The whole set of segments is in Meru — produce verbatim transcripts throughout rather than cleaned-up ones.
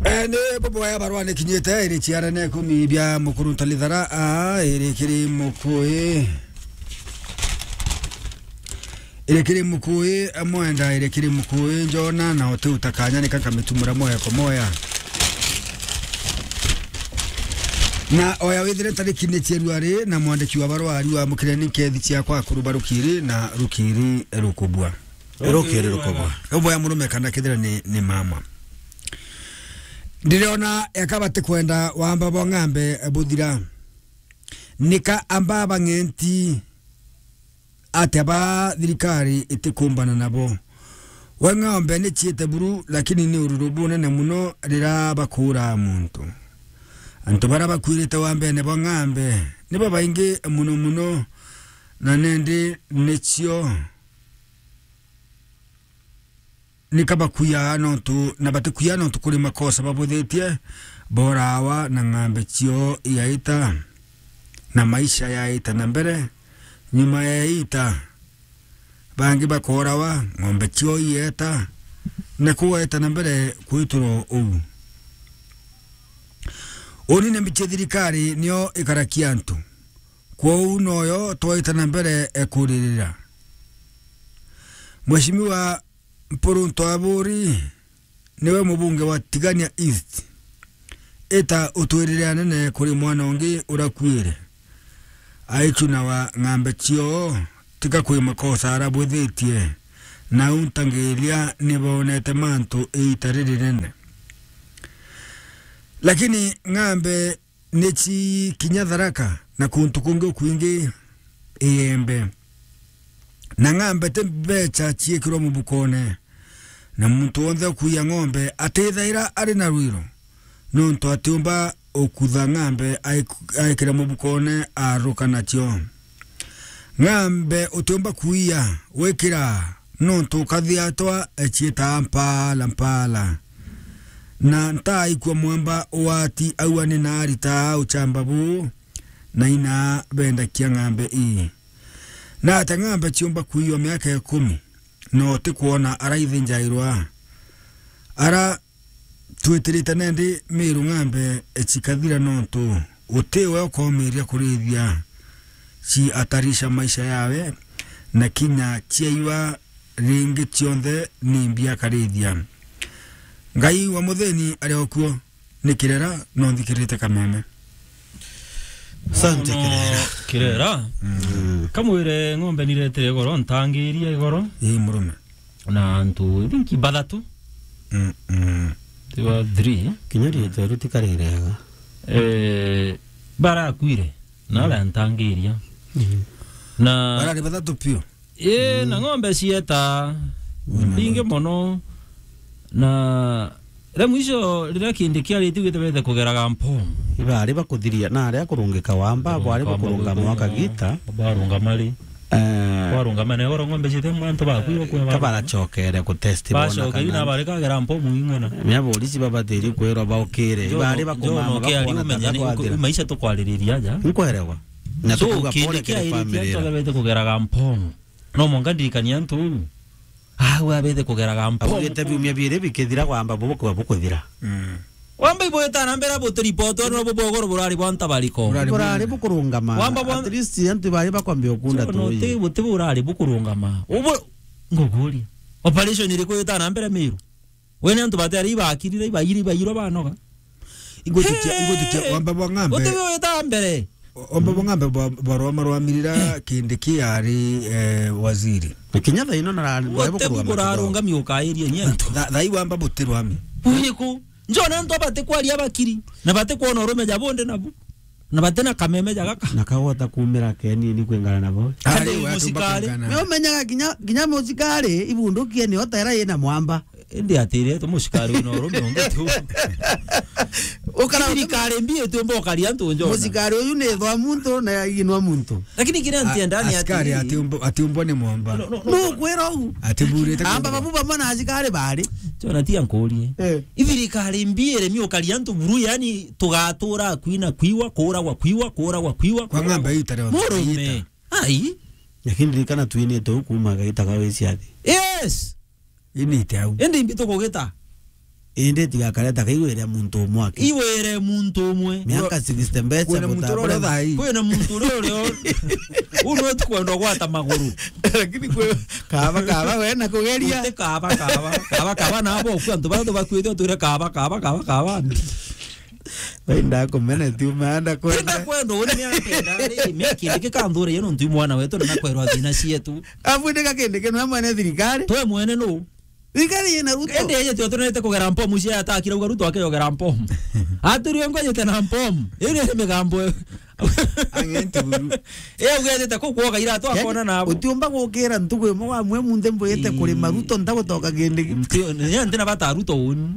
Eh, ni buboya barua ni kinyite, iri ciara ne kumi bia mukuru ntalithara, a, iri kiri mukui. Iri kiri mukui, mwenda, iri kiri mukui, njona, na uti utakanya, nika nkamitumura moya kwa moya. Na oya withire tariki ni February, na mwandiki wa barua ariwa mukire ni nkethi ciakwa kuru barukiri, na rukiri rukubwa. Rukiri rukubwa. Uboya murume kana kethira ni, ni mama. Ndiriona eka batikwenda wamba bwa ng'ambe buthira. Nika amba bang'enti atia ba thirikari itikumbana nabo. We ng'ombe ni ciite buru, lakini ni ururu bunene muno rira bakuura muntu. Antu baria bakwirite wambene bwa ng'ambe ni babaingi muno muno, na nindi nicio nika bakuiaga nontu, na batikuiaga nontu kuri makosa babuthitie, borawa na ng'ambe cio igaita, na maisha yaita na mbere. Nyuma ya ita, bangi bakorawa, ng'ombe cio ieta, na kugaita na mbere kwiturwa uu. Uni ni mbichi thirikari nio ikarakia antu. Kwou noyo twaita na mbere, e, kuririra. Mheshimiwa Mpurunto Aburi niwe mubunge wa Tigania East. Ita utwirire anene kuri mwana ungi urakuire. Aichuna wa ng'ambe cio, tika kwi makosa arabwithitie, na untangiria ni bonete mantu iita ririnene. Lakini ng'ambe ni ci kinya Tharaka na kuntu kungi ukwingi Iembe. Na ng'ambe ti mbecha ciikirwa mubukone, na muntu wonthe ukuia ng'ombe atithaira ari na rwiro, nontu atiumba ukutha ng'ambe aik-, aikira mubukone aruka nacio. Ng'ambe utiumba kuia wikira, nontu ukathiatwa eciitaa mpala mpala. Na ntaaikua mwamba wati aua ni naarita uchamba buu, na ina bendakia ng'ambe ii. Na ata ng'ambe ciumba kuiwa miaka ikumi, na utikwona araithinjairwa? Ara twitirite nendi Miru ng'ambe cikathira, nontu uti we ukomiria kurithia, ciatarisha maisha yawe, na kinya ciaiwa ringi cionthe ni mbi akarithia. Ngai wa muthini ari o kuo, ni kirera, no nthikirite kameme. Asante, no, kirera. Kirera. Mm. Kamwire ng'ombe niretire igoro, ntangiria igoro. Ii, murume. Na antu, I think, bathatu. Mm, mm. They were three. Kinya riitwa riu tikari riega. Eh, barakuire, na aria ntangiria. Mm. Na barari bathatu piu. Ii, na ng'ombe cieta mbingi mono. Na ria mwisho riria kindi kiaritie gwite bethe kugeraga mpomu. Ibari bakuthiria, na aria kurungika wamba, bwari bukurungama wakagita. Barungama ri? Eh. Barungama na igoro ng'ombe ciete antu baku ibakuya. Kabaracokere ku test bona. Bacokeri kana na bari kagera mpomu ing'ana. Mia borisi babatiri kwirwa baukire. Ibari bakumama, bakona umenye ni maisha tukwaririria aja. Nkwerewa. Na so, tukuga kindi pole kiri kiaritie family. Antu aria bethe kugeraga mpomu. No mwanka ndirikania antu uu. Au abethe kugeraga mpomu. Augite biumia biiri bikithira, wamba bubu kwa bukuthira. Mm. Wamba ibwita na mbere buti report, no bubu ugoro burari bwa ntabariko. Burari bukurungama. Wamba bwa- At least antu bari bakwambia ukunda tu. No, ti buti burari bukurungama. Ubu nguguria. Operation iriku ita na mbere Miru? We ni antu batiari ibakirire, ibaire, ibairwa banoga. Igutikia, igutikia, wamba bwa ng'ambe. Uti wita mbere. Wamba bwa ng'ambe bwa, barwa marwamirira kindi kiari, eh, waziri. Na kinya thaa ino nara-, uti bugurarungami ukairia nyentu. Tha-, thaa ii wamba butirwami. Uriku? Njona antu abati kwaria bakiri. Na bati kwona urume ja bonde nabu. Na bati na kameme ja gaka. Na kagwata kumira kenini kwingana nabo. Ari, kati we atumba musikari. Kwingana. Ni umenyaga kinya, kinya musikari, ibundukie ni otera ina mwamba. Indi atire tu musikari wina urume ungi tu. Ukara thirikari mbi itiumba ukaria antu njona. Musikari uyu ni thwa muntu na inwa muntu. Lakini kiria ntienda ni asikari ati atiumbo-, atiumbwa ni mwamba. No, no, no. Nukwira u. Atiburite amba babu bamwe na asikari bari. Jona tia nkurie. Eh. Ithirikari mbi iremi ukaria antu buru, yani tugatura kwina kwiwa, kuragwa kwiwa, kuragwa kwiwa. Kwa ng'ambe ita reo. Murume. Ita. Ai. Lakini ririkana twinite u kuma gaita ga wiciathi. Yes. Inite au. Indi mbi tukugita. Indi tigakareta kaigwire muntu umwe aki. Igwire muntu umwe. Miaka sixty mbeca. Kwina muntu uria uria thaa ii. Kwina muntu uria uria u-, u no tukwenda gwata maguru. Lakini kwi kaba, kaba, we na kugeria. Uti kaba, kaba, kaba, kaba, na abo ku antu baria tubakuite utwire kaba, kaba, kaba, kaba. Wenda kumena tu, maanda kwenda. Wenda kwenda, uni miaka enda, ri, miaka indi kikanthure, yeno ntui mwana wetu, na nakwerwa thina cietu. Abu ndika kindi kinu, amwe ne thirikari. Twe mwene nu? Thirikari yina Ruto. Ende yeje tio tunete kugera mpomu cia atakira uga Ruto akeyogera mpomu. Aturi ngo yete na mpomu. Iri ni migambo. Ang'e nturu. E ugethete ku kwoga ira tu akona nabo. Utiumba gukira ntugu imwe wa mwe munthe mbuyite kurima Ruto ntagutoka kindi. Ntio, ni ntina bata Ruto uni.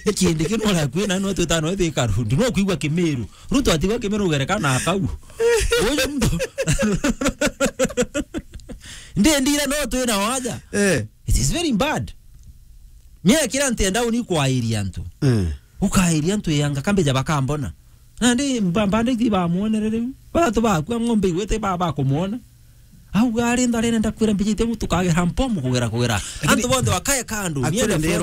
Ikindi kinu ora kwina no twita no thika rundu. No kuigwa Kimiru. Ruto atigwa Kimiru ugerekana akau. Uyu muntu. Ndi ndira no twina waja. Eh. It is very bad. Mie kira ntenda uni kwairia antu. Eh. Ukairia antu yanga kambeja bakambona. Na ndi mba-, mbande ithi bamwonere riu. Bathatu bakua ng'ombe igwete ba-, bakumwona. Au gari ndarene ndakwira mbijite mu tukagera mpomu kugera kugera. Lakini antu bonthe bakae kandu. Akire niende ndero